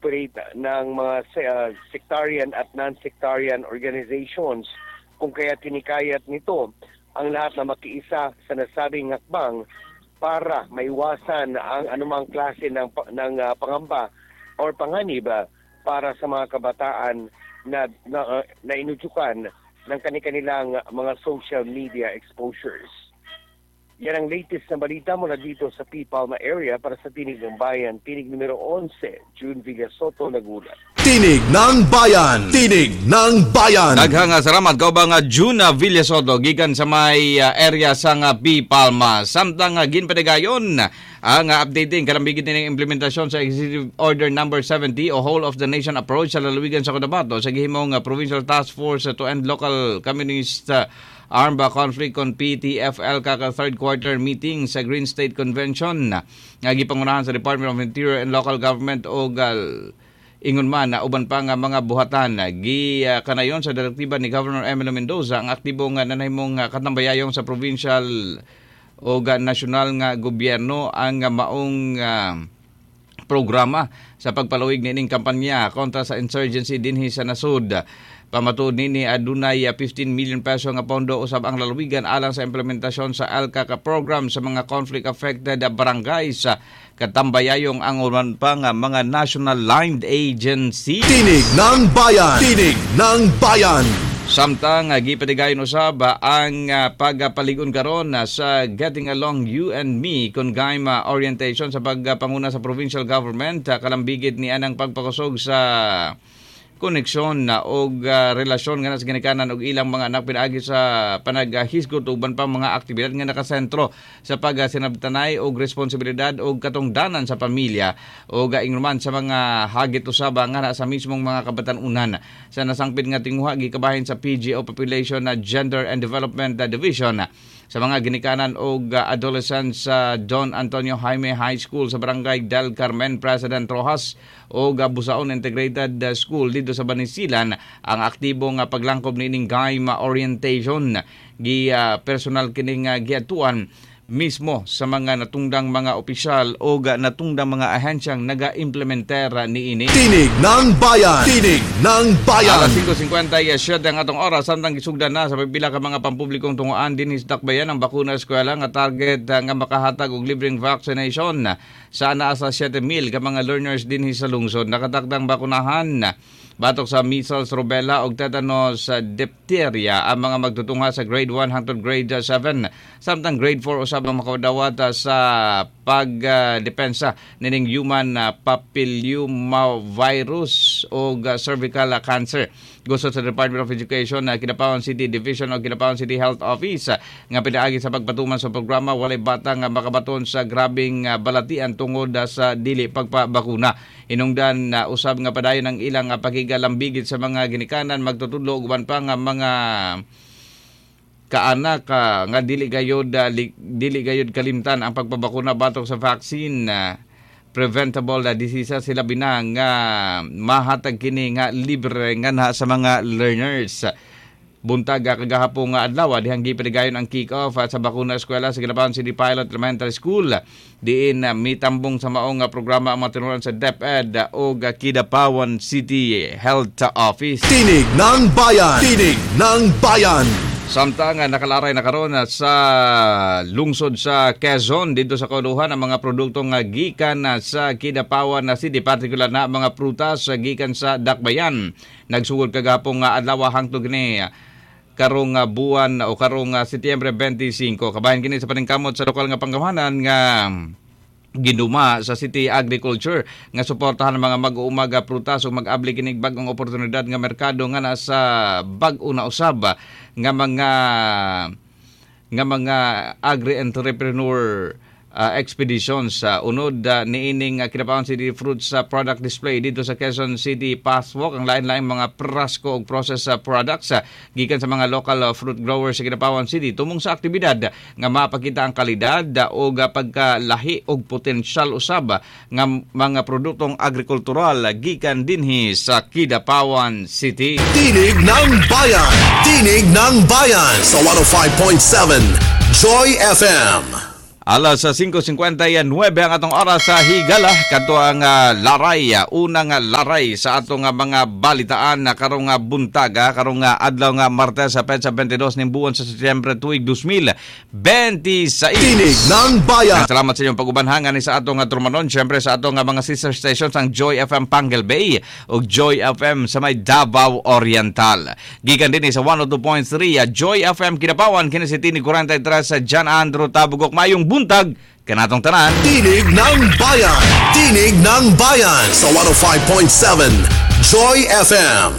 pag-operate ng mga sectarian at non-sectarian organizations, kung kaya tinikayat nito ang lahat na makiisa sa nasabing hakbang para maiwasan ang anumang klase ng pangamba or panganib para sa mga kabataan na inudyukan ng kanilang mga social media exposures. Yan ang latest na balita mula dito sa P. Palma area para sa Tinig ng Bayan. Tinig numero 11, June Villasoto, nagulat. Tinig ng Bayan. Tinig ng Bayan. Daghang salamat kaubang Juna Villasoto gikan sa may area sa nga P. Palma. Samtang ginpanigayon ang updating kalambigit nining implementasyon sa Executive Order number 70 o whole of the nation approach sa lalawigan sa Cotabato sa gihimong Provincial Task Force to End Local Communist Armed Conflict kon PTFL kaka third quarter meeting sa Green State Convention nga gipangunahan sa Department of Interior and Local Government og ingon man na uban pa nga mga buhatan. Gi kanayon sa direktiba ni Governor Emilio Mendoza ang aktibo nga nanahimong katambayayong sa provincial o nasyonal nga gobyerno ang maong programa sa pagpalawig niining kampanya kontra sa insurgency dinhi sa nasod. Pamatuod nini, adunay 15 million peso nga pondo usab ang lalawigan alang sa implementasyon sa ELCAC program sa mga conflict affected barangays, katambayayong ang uban pa nga mga national aligned agency. Tinig ng Bayan. Tinig ng Bayan. Samtang gipatigayon usab ang pagpaligon karon sa Getting Along You and Me kon GAIMA orientation sa pagpanguna sa provincial government, kalambigit ni anang pagpakusog sa koneksyon na og relasyon nga sa ginikanan og ilang mga anak pinaagi sa panaghisgot ug uban pang mga aktibidad nga nakasentro sa pagsinabtanay og responsibilidad og katungdanan sa pamilya og ingon man sa mga hagit usab nga na sa mismong mga kabatan-unan. Sa nasangpit nga tinguha, gikabahin sa PGO Population na Gender and Development Division sa mga ginikanan og adolescents sa Don Antonio Jaime High School sa Barangay Del Carmen, President Rojas og Busaon Integrated School dito sa Banisilan ang aktibo nga paglangkob niining GAIMA orientation. Gi personal kining giatuan mismo sa mga natungdang mga opisyal o natungdang mga ahensyang naga-implementer niini. Tinig ng Bayan. Tinig ng Bayan. Alas 5:57 ang atong oras, samtang gisugdan na sa pagpila ka mga pampublikong tungoan dinhi sa Dakbayan ang bakuna eskwela nga target nga makahatag og libreng vaccination sa naa sa 7,000 ka mga learners dinhi sa lungsod. Nakatakdang bakunahan batok sa measles, rubella ug tetanus, diphtheria ang mga magtutungha sa grade 1 hangtod grade 7. Samtang grade 4 usab ang makadawat sa pagdepensa nining human papillomavirus ug cervical cancer. Gusto sa Department of Education na Kidapawan City Division o Kidapawan City Health Office nga pinaagi sa pagpatuman sa programa walay bata nga makabaton sa grabeng balatian tungod sa dili pagpabakuna. Hinungdan usab nga padayon ang ilang pakigalambigit sa mga ginikanan, magtutudlo ug uban pa nga mga kaanak nga dili gayod kalimtan ang pagpabakuna batok sa vaccine preventable diseases, sila bina nga mahatag kini nga libre nga na sa mga learners. Buntag kagahapon nga adlaw dihang gipanigayon ang kick-off sa bakuna eskwela sa Kidapawan City Pilot Elementary School, diin mitambong sa maong programa ang mga tinuran sa DepEd ug Kidapawan City Health Office. Tinig ng Bayan. Tinig ng Bayan. Samtang nakalaray na karon sa lungsod sa Quezon dito sa Kauluhan ang mga produkto nga gikan sa Kidapawan na City, partikular na mga prutas gikan sa Dakbayan. Nagsugod kagahapon nga adlaw hangtod kini karong buwan o karong Setyembre 25. Kabahin kini sa paningkamot sa lokal nga panggamhanan nga ginuma sa City Agriculture nga suportahan ang mga mag-uuma nga prutas ug mag-abli kinig bag-ong oportunidad nga merkado nga nasa bag-o na usab nga mga agri-entrepreneur expeditions sa unod niining Kidapawan City Fruits product display dito sa Quezon City Pathwalk ang lain-laing mga prasko ug process products gikan sa mga local fruit growers sa Kidapawan City tumong sa aktibidad nga mapakita ang kalidad ug pagkalahi ug potensyal usab nga mga produktong agrikultural gikan dinhi sa Kidapawan City. Tinig ng Bayan. Tinig ng Bayan sa 105.7 Joy FM. Alas 5:59 ang atong oras sa higala kadto ang laray, unang laray sa atong mga balitaan na karong buntag, karong adlaw nga Martes sa petsa 22 ning buwan sa Setyembre tuig 2026. Tinig ng Bayan. Salamat sa inyong pagubanhangan ni sa atong trumanon, syempre sa atong mga sister stations ang Joy FM Panguil Bay ug Joy FM sa may Davao Oriental. Gikan din sa 102.3 Joy FM Kidapawan, kini si Tinig 43 sa John Andrew Tabugok. Mayong buntag kanatong tanan. Tinig ng Bayan. Tinig ng Bayan sa 105.7 Joy FM.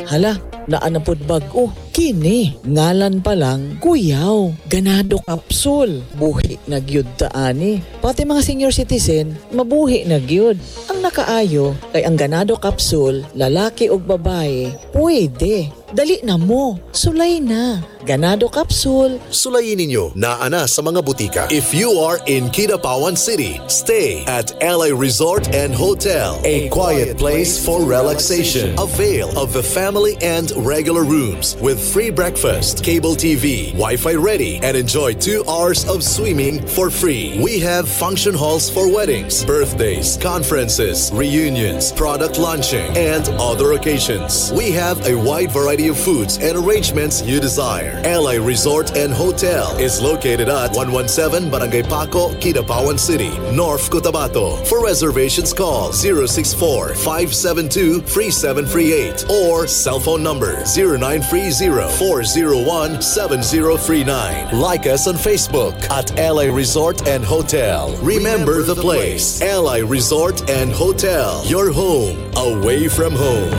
Hala, naanapod bag-o. Kini, ngalan pa lang, kuyaw. Ganado kapsul. Buhi na gyud ta ani. Pati mga senior citizen, mabuhi na gyud. Ang nakaayo, kay ang ganado kapsul, lalaki og babae, pwede. Dali na mo, sulay na. Ganado kapsul. Sulayin ninyo naa na sa mga butika. If you are in Kidapawan City, stay at LA Resort and Hotel, a quiet place for relaxation. Avail of the family and regular rooms with free breakfast, cable TV, Wi-Fi ready, and enjoy 2 hours of swimming for free. We have function halls for weddings, birthdays, conferences, reunions, product launching, and other occasions. We have a wide variety of foods and arrangements you desire. LA Resort and Hotel is located at 117 Barangay Paco, Kidapawan City, North Cotabato. For reservations, call 064-572-3738 or cell phone number 0930-401-7039. Like us on Facebook at LA Resort and Hotel. Remember the place, LA Resort and Hotel, your home away from home.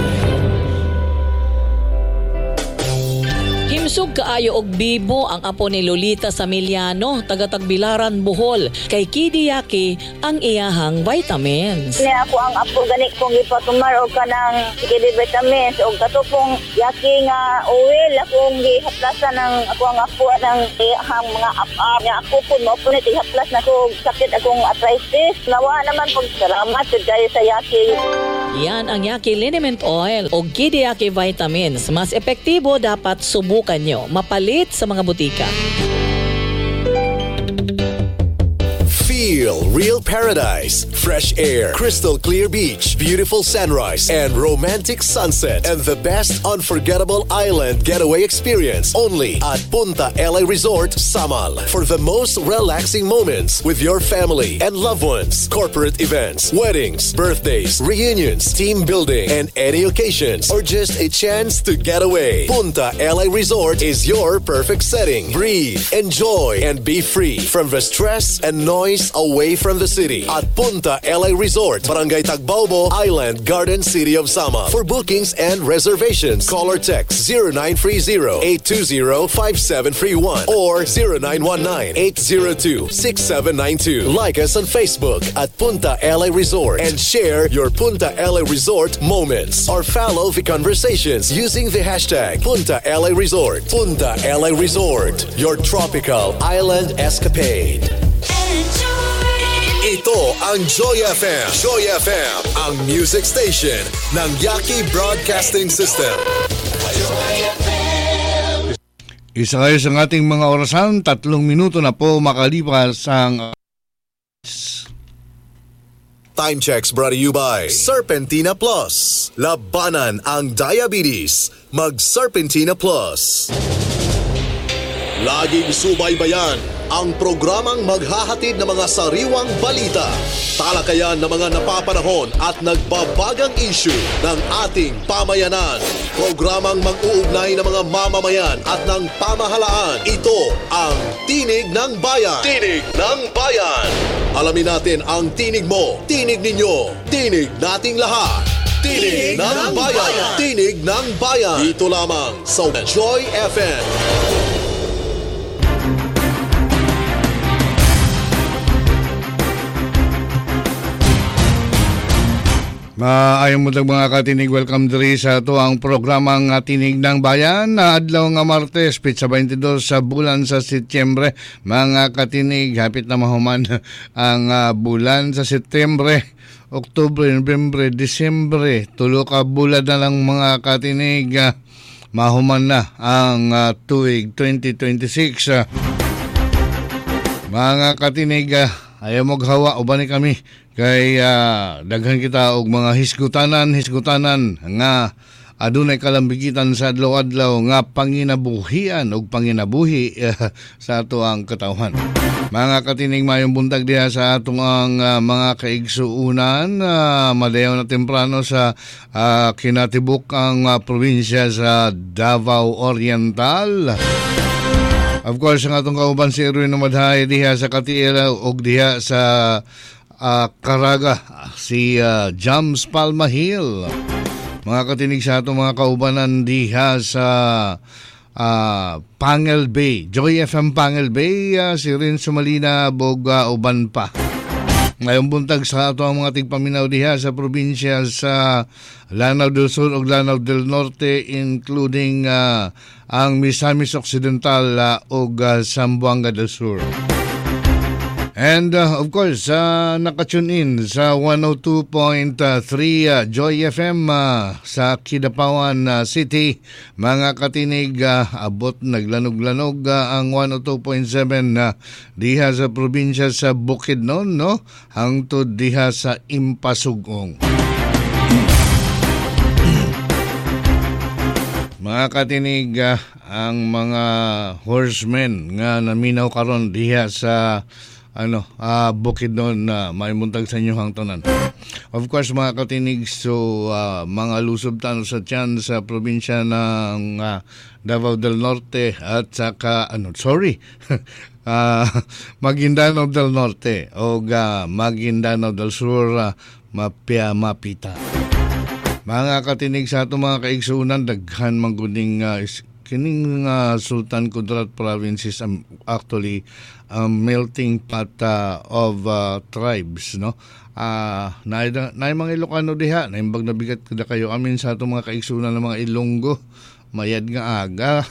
Himsog kaayo og bibo ang apo ni Lolita Samiliano, taga Tagbilaran, Bohol. Kay Kidiyaki ang iyahang vitamins. Niya ako ang apo gani kong ipatumar og kanang kidi vitamins og katupong yaki nga oil akong gihaplasan ng ako ang apo ng iyahang mga ap-ap. Niya ako po mo po ni haplas na ko sakit akong arthritis. Nawa naman pag salamat jud kayo sa yaki. Yan ang Yaki Liniment Oil o Kidiyaki Vitamins. Mas epektibo, dapat subukan nyo. Mapalit sa mga butika. Feel real paradise, fresh air, crystal clear beach, beautiful sunrise, and romantic sunset, and the best unforgettable island getaway experience only at Punta LA Resort, Samal. For the most relaxing moments with your family and loved ones, corporate events, weddings, birthdays, reunions, team building, and any occasions, or just a chance to get away. Punta LA Resort is your perfect setting. Breathe, enjoy, and be free from the stress and noise away from the city at Punta LA Resort, Barangay Tagbaobo, Island Garden City of Samal. For bookings and reservations, call or text 0930-820-5731 or 0919-802-6792. Like us on Facebook at Punta LA Resort and share your Punta LA Resort moments or follow the conversations using the hashtag Punta LA Resort. Punta LA Resort, your tropical island escapade. Ito ang Joy FM. Joy FM, ang music station ng Yaki Broadcasting System. Isa kayo sa ating mga orasan, 3 minuto na po makalipas ang... Time checks brought to you by Serpentina Plus. Labanan ang diabetes. Mag Serpentina Plus. Laging subaybayan ang programang maghahatid ng mga sariwang balita, talakayan ng mga napapanahon at nagbabagang issue ng ating pamayanan. Programang mag-uugnay ng mga mamamayan at ng pamahalaan. Ito ang Tinig ng Bayan. Tinig ng Bayan. Alamin natin ang tinig mo, tinig ninyo, tinig nating lahat. Tinig ng Bayan. Tinig ng Bayan. Dito lamang sa Joy FM. Maayong buntag mga katinig, welcome diri sa ato ang programang Tinig ng Bayan na adlaw nga Martes, petsa 22 sa bulan sa Setyembre. Mga katinig, hapit na mahuman ang bulan sa Setyembre, Oktubre, Nobyembre, Disyembre. Tulo ka bulan na lang mga katinig, mahuman na ang tuig 2026. Mga katinig, ayaw maghawa, uban ni kami kay daghan kita og mga hisgutanan nga adunay kalambigitan sa adlaw-adlaw nga panginabuhian og panginabuhi sa ato ang katawhan. Mga katinig, mayong buntag diha sa atong ang mga kaigsuunan, madayaw na temprano sa kinatibuk ang probinsya sa Davao Oriental. Of course, ang atong kauban si Erwin Umadhay diha sa Katiela ug diha sa Caraga, si Jams Palma Hill. Mga katinig, sa atong mga kaubanan diha sa Pangil Bay, Joy FM Pangil Bay, si Rin Sumalina Boga uban pa. Ngayong buntag sa ato ang mga tigpaminaw diha sa probinsya sa Lanao del Sur ug Lanao del Norte, including ang Misamis Occidental ug Zamboanga del Sur. And of course, nakatune in sa 102.3 Joy FM sa Kidapawan City. Mga katinig, abot naglanog-lanog ang 102.7 diha sa probinsya sa Bukidnon, no? Hangtod diha sa Impasugong. Mga katinig, ang mga horsemen nga naminaw karon diha sa Bukidnon na may muntag sa inyo hang tanan. Of course, mga katinig, so mga lusob tano sa tiyan sa probinsya ng Davao del Norte at saka Maguindanao del Norte o Maguindanao del Sur, mapia mapita. Mga katinig, sa atong mga kaigsuonan, daghan mangguding kining Sultan Kudarat province is actually a melting pot of tribes, no? Naay mga Ilocano diha, naimbag na bigat kada kayo amin sa atong mga kaigsuonan ng mga Ilonggo, mayad nga aga.